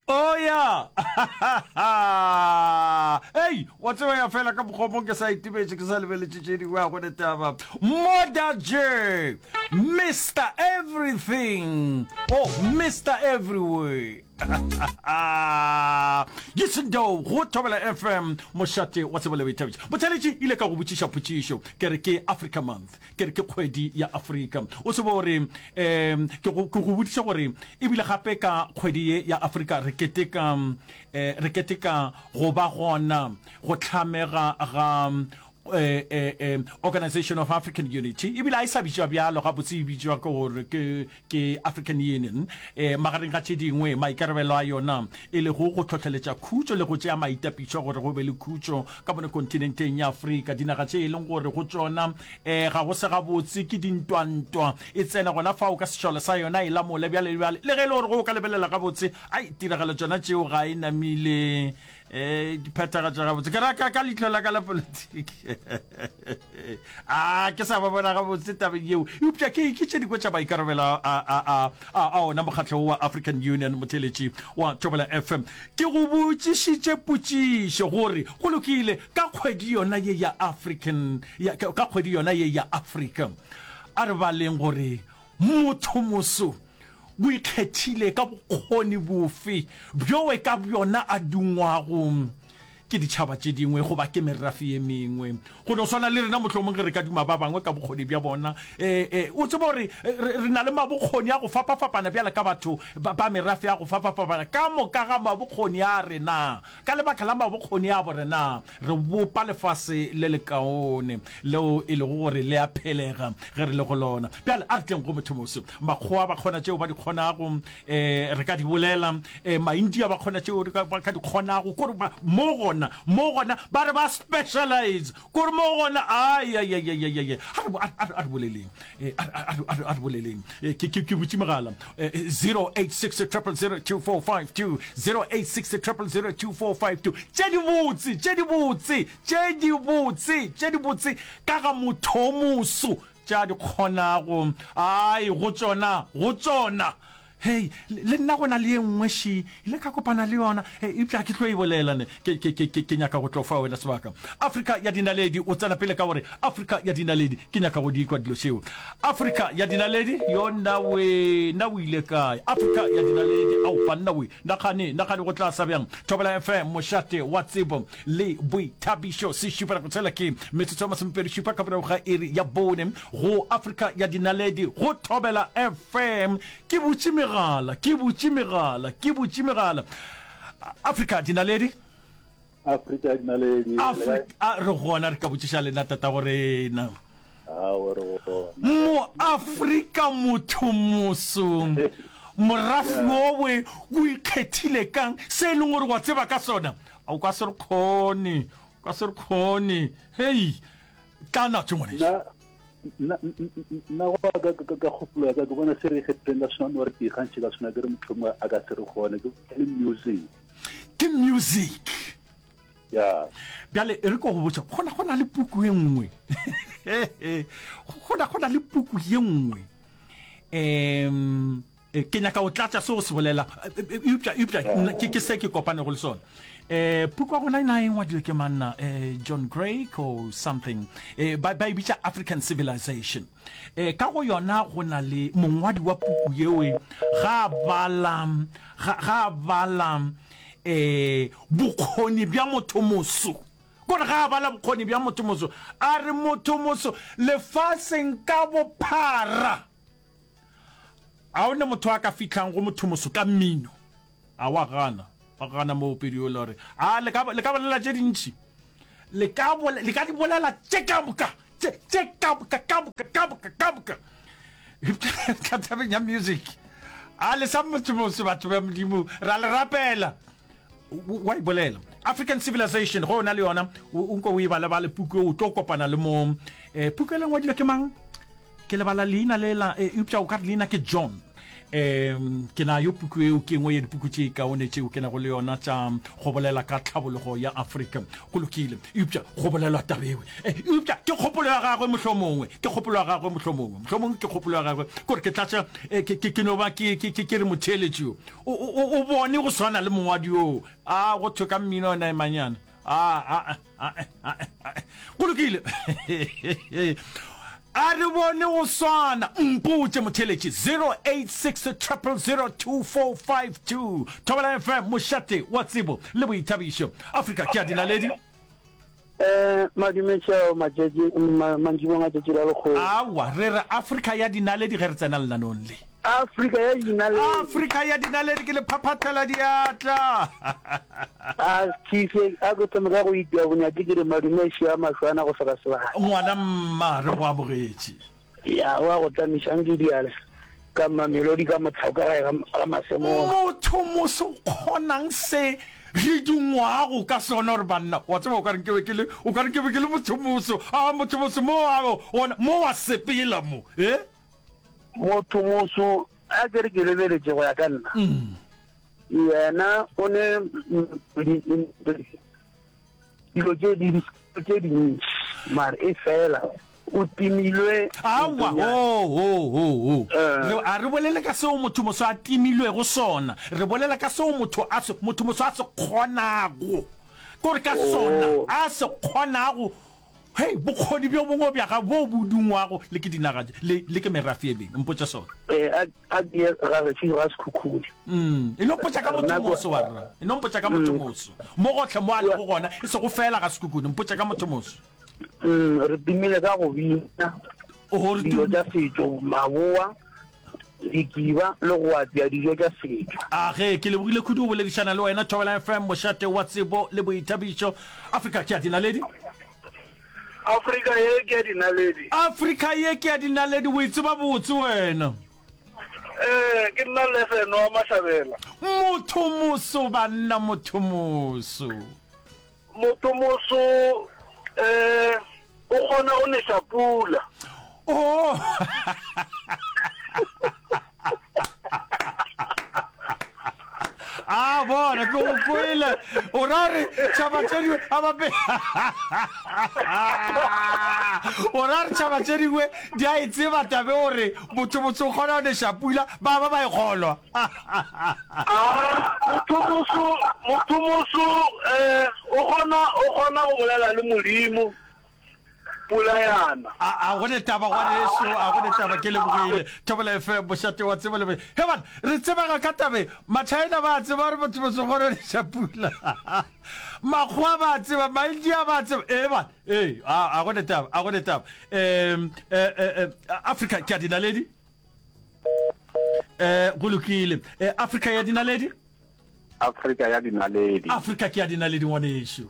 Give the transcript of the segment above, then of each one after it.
Oh ya! Ei, wa tseba ya fela ka mokgwa mo ke sa itibetše ke sa lebeletše tše dingwe a gone taba. Moda J, Mr Everything. Oh, Mr Everywhere. Yisindo go Thobela FM mošate wa tsebo le boithabišo. Motheletši ile ka go botšiša potšišo ke re ke Africa Month. Ke re ke kgwedi ya Afrika. O tsebe gore um ke go, ke go boditše gore ebile gape ka kgwedi ye ya Afrika re keteka, um re keteka go ba gona go hlamega ga um Organization of African Unity, ebile ga e sa bitšwa bjalo gabotse, e bitšwa ke gore ke, ke African Union, um magareng ga tše dingwe maikarabelo a yona e lego go hlohleletša khutšo le go tšea maitapišo gore go be le khutšo ka mono kontinenteng ya Afrika. Dinaga tše e leng gore go tšona um ga go se gabotse ke dintwantwa e tsena gona fao ka sešole sa yona e lamole bjale le bjale, le ge e le gore go o ka lebelela gabotse ai tiragalo tšona tšeo ga e namile Eh, di phethagatša gabotse ke ra ka ka leihlo la ka la politiki a ke sa ba bona gabotse tabeng yeo eupša ke ke tše dingwe tša maikarabelo a a a a a ona mokgatlo wa African Union motheletši wa Thobela FM ke go botšišitše potšišo gore go lokile ka kgwedi yona ye ya African ya ka kgwedi yona ye ya Africa a re baleng gore motho moso O ikgethile ka bokgoni bofe bjoe ka bjona a dungwago ke ditšhaba tše dingwe goba ke merafe ye mengwe? Go no swana le rena, mohlomong ge re ka duma ba bangwe ka bokgoni bja bona. E, e, o tseba gore re, re na le mabokgoni a go fapafapana bjale ka batho ba, ba merafe ya go fapafapana. Ka moka ga mabokgoni a rena, ka lebaka la mabokgoni a borena, re bopa lefase le lekaone leo e lego gore le a phelega ge re le go lona. Bjale a re tleng go mothomoso. Makgowa ba kgona tšeo ba di kgonago, um re ka di bolela. Um Maindia ba kgona tšeo ba ka di kgonago. Kore ba, mo gona, mo gona ba re ba specialize. Kore mo gona, ai, ai, ai, ai, ai, ai. A re, a, a, a re boleleng. Eh, a, a, a, a re boleleng. Eh, ke, ke, ke butše mogala. Eh, 086 000 2452, 086 000 2452. Tše di botse, tše di botse, tše di botse, tše di botse ka ga mothomoso tša di kgonago. Ai, go tšona, go tšona. Hei, le nna go na le ye nngwe še, ile ka kopana le yona, eupša ga ke tlo e bolela ne. Ke, ke, ke, ke, ke nyaka go tlo fa wena sebaka. Afrika ya dinaledi, o tsena pele ka gore, Afrika ya dinaledi, ke nyaka go di kwa dilo tšeo. Afrika ya dinaledi, yo nna we, nna o ile kae? Afrika ya dinaledi, ao banna we, nagane, nagane go tla sa bjang. Thobela FM, mošate wa tsebo le boithabišo, se šupela go tshela ke metsotso ya masomepedi šupa ka morago ga iri ya bone go Afrika ya dinaledi go Thobela FM. Ke butše megala, ke butše megala, ke butše megala. Afrika dinaledi. Afrika dinaledi. Afrika re gona re ka botšiša lena tata go rena. Mo Afrika motho moso morafe owe o ikgethile kang se e leng gore wa tseba ka sona a o ka se re kgone o ka se re kgone hei tla natso ngwaneso Nna, nna go ka, ka, ka, ka kgopolo ya ka ke bona se re ikgethileng ka sona gore ke ikgantšhe ka sona ke re motho mongwe a ka se re kgone ke le music. Ke music. Ya. Bjale e re ko go botša gona go na le puku e nngwe gona go na le puku ye nngwe um Ke nyaka go tlatša se o se bolela, eupša, eupša ke, ke se ke kopanego le sona. Eh, puku ya gona e na e ngwadilwe ke manna eh, John Gray or something eh, ba, ba e bitša African Civilization. Eh, ka go yona go na le mongwadi wa puku yeo ga bala, ga, ga bala eh, bokgoni bja motho moso kore ga a bala bokgoni bja motho moso a re motho moso lefaseng ka bophara A o ne motho a ka fihlang go mothomoso ka mmino? A wa gana, wa gana moopedi yola o re, A le ka, le ka bolela tše dintši. Le ka bole, le ka di bolela tše ka moka, tše, tše ka moka, ka moka, ka moka, ka moka. Eupša tabeng ya music, a le sa mothomoso batho ba Modimo, ra le rapela. Wa e bolela. African Civilization, go o na le yona, o nko o e bale-bale puku o tlo kopana le mo, eh, puku e le ngwadilwe ke mang? Ke lebala leina lela, eupša o ka re leina ke John. Um ke nayo puku eo, ke engwe ya dipuku tše kaone tšeo ke nago le yona tša go bolela ka tlhabologo ya Afrika. Go lokile, eupša go bolelwa taba ewe. Eh, eupša ke kgopolo ya gagwe mohlomongwe, ke kgopolo ya gagwe mohlomongwe, mohlomongwe ke kgopolo ya gagwe, kore ke tlatša, eh, ke, ke, ke no ba ke, ke, ke, ke re motheeletši yo, o, o, o bone go swana le mongwadi yoo. A go thwe ka mmino ona emanyana. A, a, a, a, a, go lokile. A re bone go swana. Mpotše motheeletši 086 000 2452. Thobela FM, mošate wa tsebo le boithabišo. Afrika ke ya dinaledi. Eh, madume tšeo matšatši mantšibong a tšatši la lekgono. Aowa, re re Afrika ya dinaledi ge re tsena lenaneong le. Afrika ya dinaledi. Afrika ya dinaledi ke le phaphathela diatla. A Chief, a ke thome ka go itia bonyatši ke re madume šia mahlwana go hloka sebaka. Ngwana mma, re go amogetše. Ya, wa go tlamiša nke diale ka Mamelodi ka Motlhauka gae ga ga Masemola. Motho moso o kgonang se re dungwago ka sona gore banna wa tseba o ka re nke be ke le o ka re nke be ke le motho moso a motho moso mo a ona mo wa sepela mo eh Motho moso a ke re ke lebeletše go ya ka nna. Yena o ne dilo tše di tše dintši mare e fela o timilwe Aowa, ho, ho, ho, ho. Re, a re bolele ka seo motho moso a timilwego sona. Re bolela ka seo motho a se, motho moso a se kgonago. Ke gore ka sona, a se kgonago. Hei, bokgoni bjo bongwe bja gago boo bo dungwago le ke dinaga tše, le, le ke merafe e mengwe. Mpotše sona. Ee, a, a ke ye ga gešo ga Sekhukhune. Mm, e no mpotša ka motho moso, wa rra. E no mpotša ka motho moso. Mo gohle mo a lego gona, e sego feela ga Sekhukhune. Mpotša ka motho moso. Mm, re tumile ka go bina Oho, re dijo tum- tša setšo, maboa, dikiba le go apea dijo tša setšo. A ge, ke lebogile kudu go boledišana le wena, Thobela FM, mošate wa tsebo le boithabišo. Afrika ke ya dinaledi. Afrika ye ke ya dinaledi. Afrika ye ke ya dinaledi, o e tseba botse wena. Ee, ke nna Lefeno wa Mahlabela. Motho moso banna, motho moso. Motho moso eh o kgona go neša pula. Oh. A bona ke go kwele o ra re tšhaba tše dingwe a bape o ra re tšhaba tše dingwe di a e tseba tabe gore motho motho o kgona go neša pula ba ba ba e kgolwa Motho moso motho moso eh o kgona o kgona go bolela le Modimo pula yana. A a go ne taba ngwaneso, a go ne taba ke lebogile. Thobela FM mošate wa tsebo le He bana, re tsebega ka tabe. Machina ba tseba gore motho moso kgona neša pula. Makgowa ba tseba, Maindia ba tseba. Eh bana, eh a a go ne taba, a go ne taba. Eh eh Africa ke a dinaledi. Eh go lokile. Eh Africa ya dinaledi? Afrika ya dinaledi. Afrika ke ya dinaledi ngwanešu.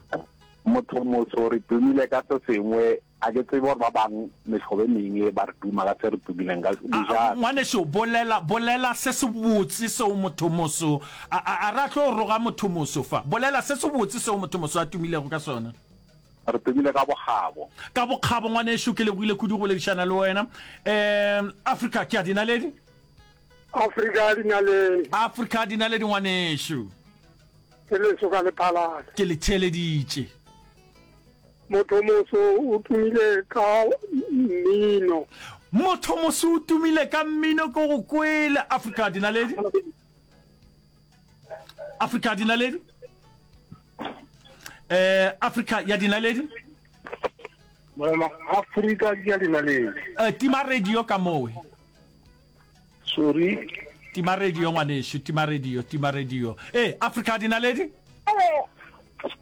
Motho moso re tumile ka se sengwe, a ke tsebe gore ba bang mehlobo e mengwe ba re tuma ka se re tumileng ka dijana. Ngwanešu bolela, bolela se se botse seo motho moso, a, a, a ra tlo roga motho moso fa. Bolela se se botse seo motho moso a tumilego ka sona. Re tumile ka bokgabo. Ka bokgabo ngwanešu, ke lebogile kudu go boledišana le wena. Um Afrika ke ya dinaledi. Afrika ya dinaledi. Afrika ya dinaledi ngwanešu. Ke leso ka lephalale. Ke le theeleditše. Motho moso o tumile ka mmino. Motho moso o tumile ka mmino ke go kwele. Afrika ya dinaledi. Afrika ya dinaledi. Eh Afrika ya dinaledi. Morena Afrika ya dinaledi. Eh tima radio ka mowe. Sorry. Tima radio ngwanešu, tima radio, tima radio. Eh, Afrika dinaledi?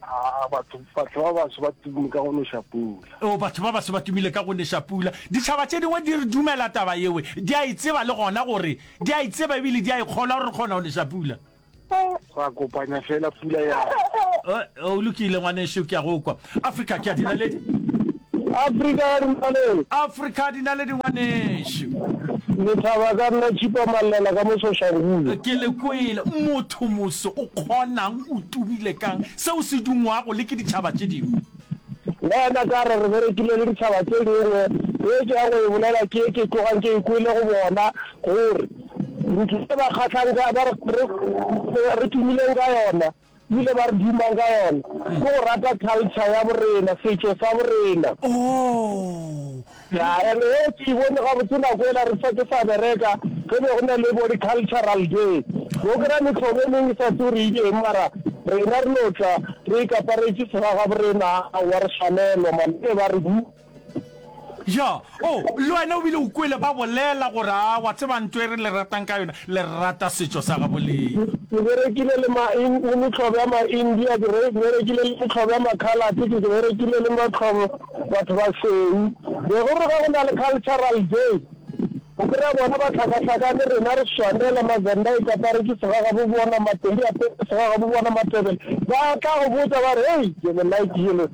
Ah, batho batho ba baso ba tumile ka go neša pula. Oh, batho ba baso ba tumile ka go neša pula. Ditšhaba tše dingwe di re dumela taba yewe, di a e tseba le gona gore, di a e tseba ebile di a e kgolwa gore re kgona go neša pula. Ra kopanya fela pula ya. O lokile ngwanešu, ke a go kwa. Afrika ke ya dinaledi. Afrika ya dinaledi. Afrika ya dinaledi ngwanešu. Lethaba ka nna Tšhipa Mallela ka mo Soshanguve. Ke le kwele. Motho moso o kgonang o tumile kang seo se dungwago le ke ditšhaba tše dingwe. Le yena ka re re berekile le ditšhaba tše dingwe. Ye ke ya go e bolela ke ye ke tlogang ke e kwele go bona gore. Ntho e ba kgahlang ka, ba re, re, re tumileng ka yona, ebile ba re dumang ka yona, ke go rata culture ya borena, setšo sa borena. Oh. Ya, and yeo ke e bone gabotse nako ela re sa ke sa bereka, ge be go na le bo di-cultural day. Bo kry-a mehlobo e mengwe e sa tsebe gore e eng, mara rena re no tla re ikaparetše segagaborena, aowa re swanelwa man, be ba re bu. Ya, oh, le wena o bile o kwele ba bolela gore, a wa tseba nto e re le ratang ka yona, le rata setšo sa gabo lena. Ke berekile le ma, le mehlobo ya ma-India, ke berekile le mehlobo ya ma-Coloured, ke berekile le mehlobo batho bašweu. Be go re ge go na le cultural day, o kry-a bona ba hlakahlakane, rena re swanela, Mavenda e kaparetše segagabo bona, Mapedi a apere segagabo bona, Matebele ba tla go botša ba re, Hei, ke le like le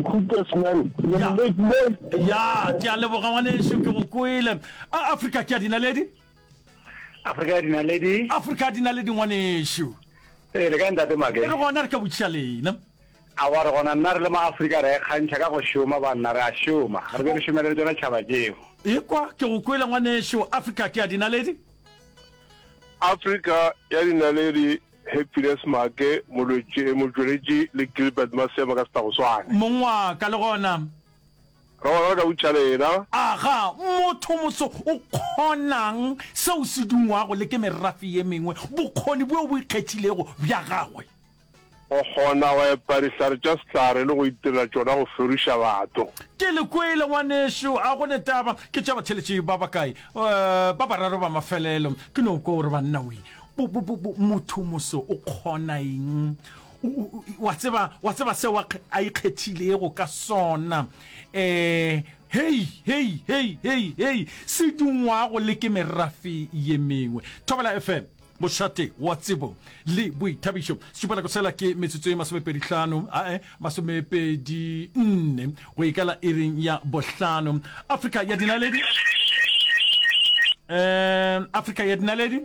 hookers man, le Ya, late mo. ya, ke a leboga ngwanešu, ke go kwele. A Afrika ke ya dinaledi? Afrika ya dinaledi. Afrika ya dinaledi ngwanešu. Ee, le kae ntate Make? Re gona, re ka botšiša lena. Aowa re gona nna re le ma-Afrika re a ikgantšha ka go šoma banna re a šoma re be re šomele le tšona tšhaba tšeo. Ekwa ke go kwele ngwanešu, Afrika ke ya dinaledi. Afrika ya dinaledi, Happiness Maake, Molwetši, Motšweletši le Gilbert Masema ka Setagoswane. Mong wa ka le gona. Re gona re ka botšiša lena. Aga, mothomoso o kgonang seo se dungwago le ke merafe ye mengwe, bokgoni bjo bo ikgethilego bja gagwe. Go kgona go epa dihlare tša sehlare le go itirela tšona go feriša batho. Ke le kwele, ngwanešu. A go ne taba. Ke tša batheeletši ba bakae? Ba bararo ba mafelelo. Ke no kwa o re, Banna we, bo, bo, bo, bo, motho moso o kgona eng? O, o, wa tseba, wa tseba seo a, a ikgethilego ka sona. Eh, hei, hei, hei, hei, hei, se dungwago le ke merafe ye mengwe. Thobela FM. Mošate wa tsebo le boithabišo. Šupanako sela ke metsotso e masomepedihlano, ae, masomepedi nne go ikala iring ya bohlano. Afrika ya dinaledi. Um, Afrika ya dinaledi.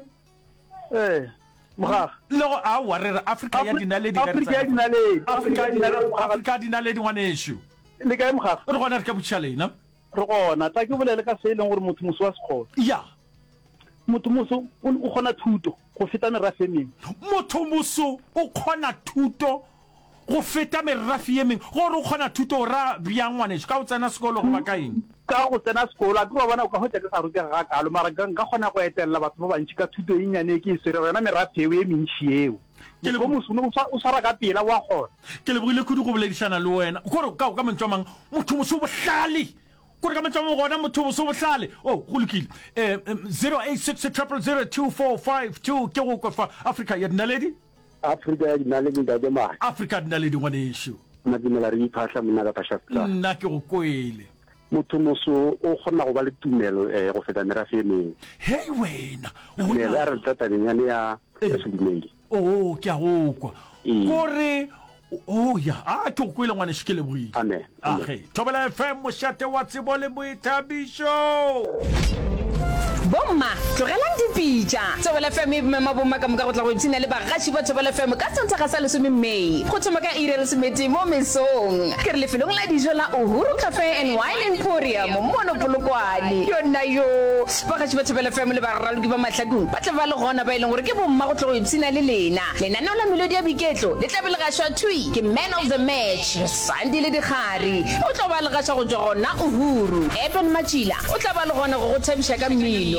Ee, mogaga. Le go aowa re re Afrika ya dinaledi. Afrika ya dinaledi. Afrika ya dinaledi, Afrika ya dinaledi ngwanešu. Le kae mogaga? Re gona re ka botšiša lena. Re gona. Tla ke bolele ka se e leng gore motho moso wa se kgona. Ya. Motho moso o, o kgona thuto go feta merafe e mengwe. Motho moso o kgona thuto go feta merafe ye mengwe. Gore o kgona thuto o ra bjang ngwanešu? Ka go tsena sekolo goba ka eng? Ka go tsena sekolo. Akere wa bona o ka hwetša ke sa rutega gakaalo, mara nka, nka kgona go etelela batho ba bantši ka thuto e nnyane e ke e swerego, yona merafe eo e mentši eo. Ke Motho o moso o, o swara ka pela, o a kgona. Ke lebogile kudu go boledišana le wena. Kore ka, ka mantšu a mang, motho moso o bohlale. Kore ka mantšu a mangwe gona motho moso o bohlale. Oh, go lokile. Eh, 086 000 2452 ke go kwe fa. Afrika ya dinaledi. Afrika ya dinaledi ntate Mahe. Afrika ya dinaledi ngwanešu. Madumela re iphahla monna ka Phasha Nna ke go kwele. Motho moso o kgona go ba le tumelo eh, go feta merafe e mengwe. Hei wena. Tumelo a re tla tabeng yane ya ya sedumedi. Oh, ke a go kwa. Ee. Kore oh ya, a ke go kwele ngwanešu ke lebogile. Amen. Amen. Age, Thobela FM mošate wa tsebo le boithabišo. Bomma, tlogelang dipitša! Thobela FM e mema bomma ka moka go tla go ipshina le bagaši ba Thobela FM ka Sontaga sa lesome May go thoma ka iri ya lesometee mo mesong. Ke re lefelong la dijo la Uhuru Cafe and Wine Emporium mono Polokwane. Yonna yoo! Bagaši ba Thobela FM le baraloki ba mahlakong ba tla ba le gona ba e leng gore ke bomma go tlo go ipshina le lena. Lenaneo la Melodi ya Boiketlo le tla be le gašwa thwi ke Man of the Match, Sandile Dikgari. O tlo ba le gaša go tšwa gona Uhuru. Eben Matšila o tla ba le gona go go thabiša ka mmino.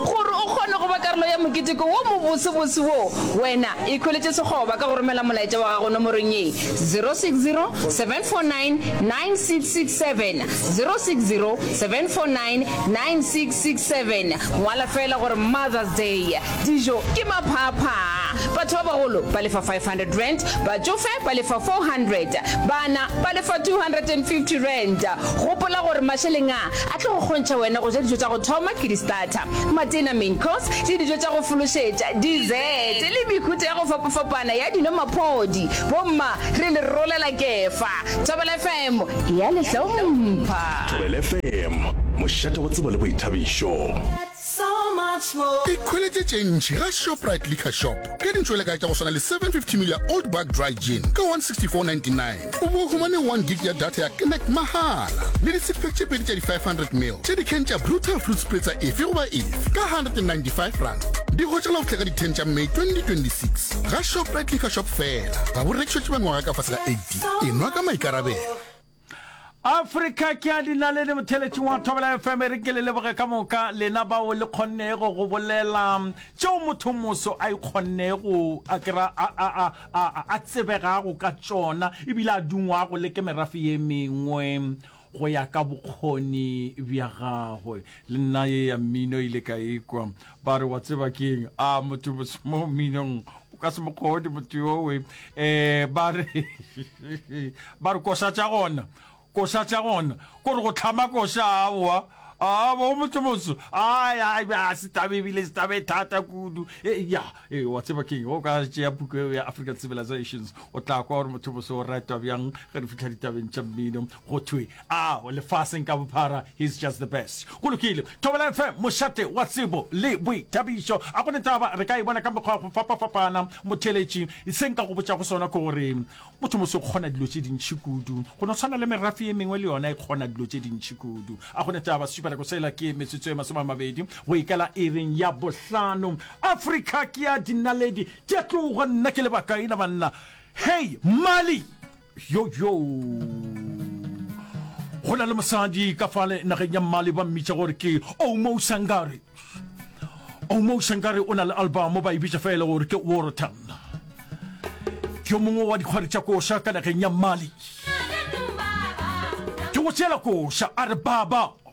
Gore o kgone go ba karolo ya moketeko wo mobosebose wo, wena ikhweletše sekgoba ka go romela molaetša wa gago nomorong ye, 060 749 9667, 060 749 9667. Ngwala feela gore Mother's Day. Dijo ke maphaaphaa. Batho ba bagolo ba lefa R500, batšofe ba lefa R400, bana ba lefa R250. Gopola gore mašeleng a a tlo go kgontšha wena go ja dijo tša go thoma ke di-starter, matena, main course, le dijo tša go fološetša, dessert, le mehuta ya go fapafapana ya dino maphodi. Bomma, re le rolela kefa. Thobela FM e a le hlompha. Thobela FM, mošate wa tsebo le boithabišo. Ikhweletše tše ntši ga Shoprite Liquor Shop ka dintšwelekae tša go swana le 750 ml ya Old Buck Dry Gin ka 164.99 o bo o humane 1 gig ya data ya Connect mahala le di six pack tše pedi tša di 500 ml tša di-can tša Brutal Fruit Spritzer efe goba efe ka R195. Di hwetšagala go fihla ka di 10 tša May 2026 ga Shoprite Liquor Shop fela. Ga bo rekišetšwe ba mengwaga ka fase ga 18. Enwa ka maikarabelo. Afrika ke a dinaledi motheletši wa Thobela FM e re ke le leboge ka moka lena bao le kgonnego go bolela tšeo motho moso a ikgonnego a kera a a a a a tsebegago ka tšona ebile a dungwago le ke merafe ye mengwe go ya ka bokgoni bja gagwe. Le nna ye ya mmino ile ka ekwa ba re wa tseba keng a motho moso mo mminong o ka se mo kgone motho yowe um ba re ba re koša tša gona koša tša gona kore go tlhama koša aowa a bo motho moso ai ai a se tabe ebile se tabe thata kudu e, ya e, wa tseba keng o ka tšea puku eo ya African Civilizations o tla kwa gore motho moso o ratwa bjang ge re fitlha ditabeng tša mmino go thwe A lefaseng ka bophara, he's just the best. Go lokile. Thobela FM, mošate wa tsebo le boithabišo. A go ne taba, re ka e bona ka mekgwa ya go fapafapana. Motheeletši, se nka go botšago sona ke gore motho moso o kgona dilo tše dintši kudu. Go no tshwana le merafe ye mengwe le yona e kgona dilo tše dintši kudu. A go ne taba, sešupanako sela ke metsotso e masomeamabedi go ikela iring ya bohlano. Afrika ke ya dinaledi tše tloga, nna ke lebakaina banna. Hei, Mali! Yo yo! Go na le mosadi ka fale nageng ya Mali ba mmitša gore ke Oumou Sangare. Oumou Sangare o na le album ba e bitša fela gore ke Worotan. Ke yo mongwe wa dikgwari tša koša ka nageng ya Mali. Ke go tšeela koša a re baba.